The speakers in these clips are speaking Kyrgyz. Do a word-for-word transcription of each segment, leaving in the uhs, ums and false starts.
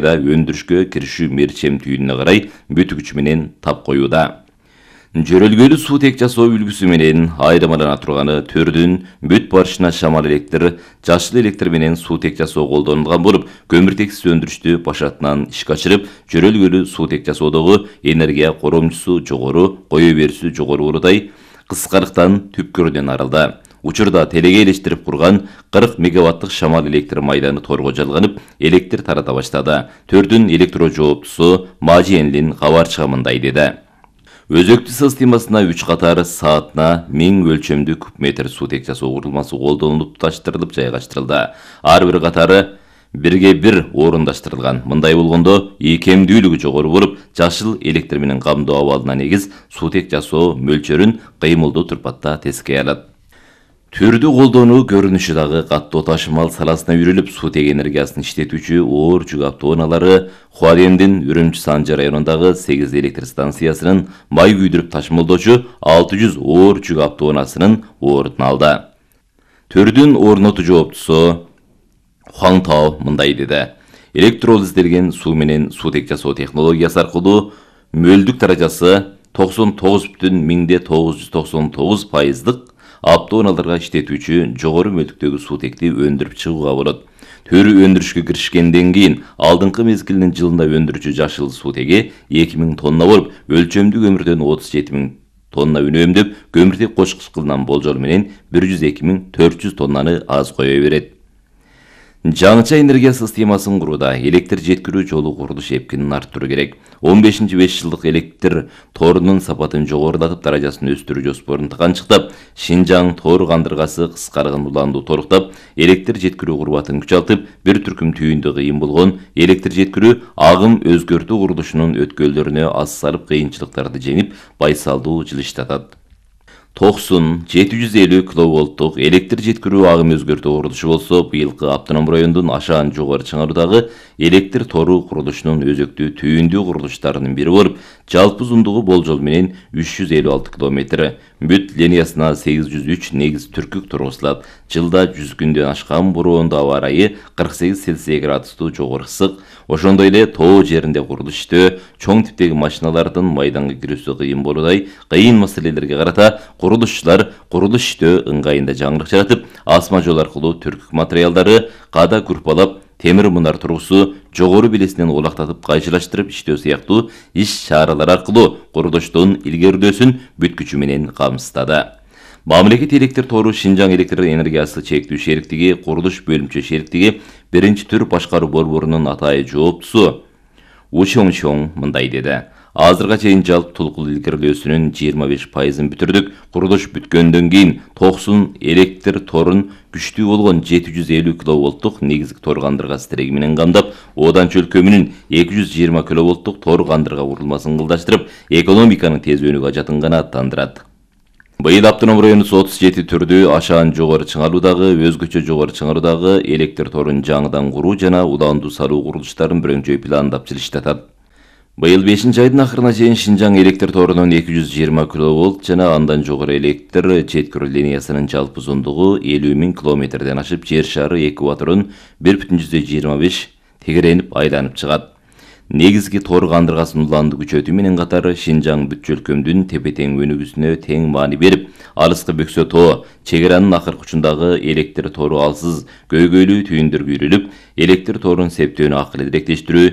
өндүрүшкө киришүү мерчем түйүнүнө карай бүт күчү менен тап коюуда. Жөрөлгөлүү суутек жасоо үлгүсү менен айырмалана турганы төрдүн бүт барышына шамал электр, жашыл электр менен суутек жасоо колдонулган болуп, көмүртексиз өндүрүштү башатынан ишке ашырып, жөрөлгөлүү суутек жасоодогу энергия коромчусу жогору, кое берүүсү жогору уурудай кыскарыктан түпкүрүнөн арылды. Учурда телеге элештирип курган кырк мегаваттык шамал электр майданы торго жалганып, электр тарата баштады. Төрдүн электро жооптусу Мажи Энлин кабарчыга мындай деди. Өзөктүү системасына үч катар саатына миң өлчөмдүү кубметр суутек жасоо курулмасы колдонулуп туташтырылып жайгаштырылды. Ар бир катары бирге бир орундаштырылган. Мындай болгондо ийкемдүүлүгү жогору болуп, жашыл электр менен камдоо абалына негиз суутек жасоо мөлчөрүн кыймылдуу турпатта тескей алат. Түрдү колдонуу көрүнүшү дагы каттоо ташымал саласына үйрөлүп, суутек энергиясын иштетүүчү оор жүк автоунаалары Хуадендин Үрүмчү Санжы районундагы сегиз электр станциясынын май күйдүрүп ташымалдоочу алты жүз оор жүк автоунаасынын ордун алды. Төрдүн орнотуу жооптусу Хуан Тао мындай деди. Электролизделген суу менен суутек жасоо технологиясы аркылуу мөлдүк даражасы токсон тогуз бүтүн миңде тогуз жүз токсон тогуз пайыздык автоунааларга иштетүүчү жогору мөлдүктөгү суутекти өндүрүп чыгууга болот. Төрү өндүрүшкө киришкенден кийин алдыңкы мезгилинин жылында өндүрүүчү жашыл суутеги эки миң тонна болуп, өлчөмдүү көмүрдөн отуз жети миң тонна үнөмдөп, көмүртек кочкуч кылынан болжол менен бир жүз эки миң төрт жүз тоннаны аз кое берет. Жаңыча энергия системасын курууда электр жеткирүү жолу курулуш эпкинин арттыруу керек. он бешинчи беш жылдык электр торунун сапатын жогорулатып, даражасын өстүрүү жоспорун тыканчыктап, Шинжаң тоор кандыргасы кыскарган уланду торуктап, электр жеткирүү курбатын күчалтып, бир түркүм түйүндү кыйын болгон электр жеткирүү агым өзгөртүү курулушунун өткөлдөрүнө аз салып, кыйынчылыктарды жеңип, байсалдуу жылыштатат. токсон жети жүз элүү киловолттук электр жеткирүү агым өзгөртүү курулушу болсо, быйылкы автоном райондун Ашаан жогору чыңаруудагы электр тору курулушунун өзөктүү түйүндүү курулуштарынын бири болуп, жалпы узундугу болжол менен үч жүз элүү алты километр. Бүт линиясына сегиз жүз үч негиз түркүк тургузулат. Жылда жүз күндөн ашкан бороондо аба ырайы кырк сегиз Цельсий градустуу жогору ысык. Ошондой эле тоо жеринде курулуш иштөө, чоң типтеги машиналардын майданга кирүүсү кыйын болуудай кыйын маселелерге карата курулушчулар курулуш иштөө ыңгайында жаңылык жаратып, асма жол аркылуу түркүк материалдары када курпалап, темир мунар тургусу жогору белесинен улактатып кайчылаштырып иштөө сыяктуу иш-чаралар аркылуу курулуштун илгерилөөсүн бүт күчү менен камсыздады. Мамлекет электр тору Шинжаң электр энергиясы чектүү шериктиги курулуш бөлүмчө шериктиги биринчи түр башкаруу борборунун атайы жооптусу Учоңчоң мындай деди. Азырга чейин жалпы толкул илгерилөөсүнүн жыйырма беш пайызын бүтүрдүк. Курулуш бүткөндөн кийин токсон электр торун күчтүү болгон жети жүз элүү киловолттук негизги тор кандыргасы тиреги менен камдап, одан чөлкөмүнүн эки жүз жыйырма киловолттук тор кандырга курулмасын кылдаштырып, экономиканын тез өнүүгө ажатынганы аттандырат. Быйыл автоном районубуз отуз жети түрдүү Ашаан жогору чыңаруудагы, өзгөчө жогору чыңаруудагы электр торун жаңыдан куруу жана уландуу салуу курулуштарын бирөңчөй пландап жылыштатат. Быйыл бешинчи айдын акырына чейин Шинжаң электр торунун эки жүз жыйырма киловолт жана андан жогору электр жеткирүү линиясынын жалпы узундугу элүү миң километрден ашып, жер шары экваторун бир бүтүн жүздөн жыйырма беш тегеренип айланып чыгат. Негизги тор кандыргасынын уландуу күчөтүү менен катары Шинжаң бүт чөлкөмдүн тепе-тең өнүгүүсүнө тең маани берип, алыскы Бөксө тоо чек аранын акыркы учундагы электр тору алсыз көйгөйлүү түйүндөргө үйрүлүп, электр торун септөөнү акыл эдиректештирүү,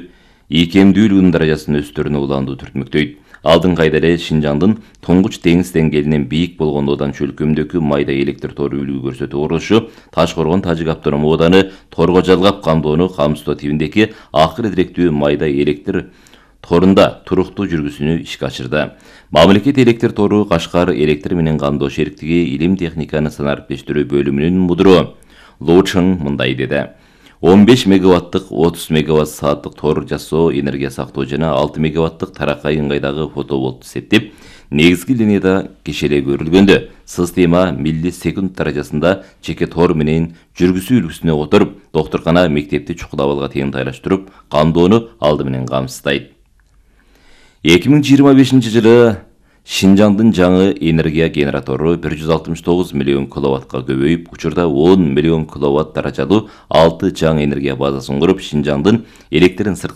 ийкемдүүлүгүнүн даражасын өстөрүнө уландуу түртмөктөйт. Алдыңкы айда эле Шинжаңдын Тоңгуч деңиз деңгээлинен бийик болгон одан чөлкөмдөгү майда электр тору үлгү көрсөтүү курулушу Таш-Коргон Тажик автоном ооданы торго жалгап камдоону камсыздоо тибиндеги акыл эдиректүү майда электр торунда туруктуу жүргүсүнү ишке ашырды. Мамлекет электр тору Кашкар электр менен камдоо шериктиги илим техниканы санариптештирүү бөлүмүнүн мудуру Лоучың мындай деди. он беш мегаваттык отуз мегаватт сааттык тор жасоо, энергия сактоо жана алты мегаваттык таракай ыңгайдагы фотоволтту септеп, негизги линияда кешеле көрүлгөндө система миллисекунд даражасында жеке тор менен жүргүсүү үлгүсүнө которуп, доктуркана мектепти чукул абалга тең тайлаштырып, камдоону алды менен камсыздайт. эки миң жыйырма бешинчи жылы Шинжаңдын жаңы энергия генератору бир жүз алтымыш тогуз миллион киловаттка көбөйүп, учурда он миллион киловатт даражалуу алты жаңы энергия базасын куруп, Шинжаңдын электрин сыртка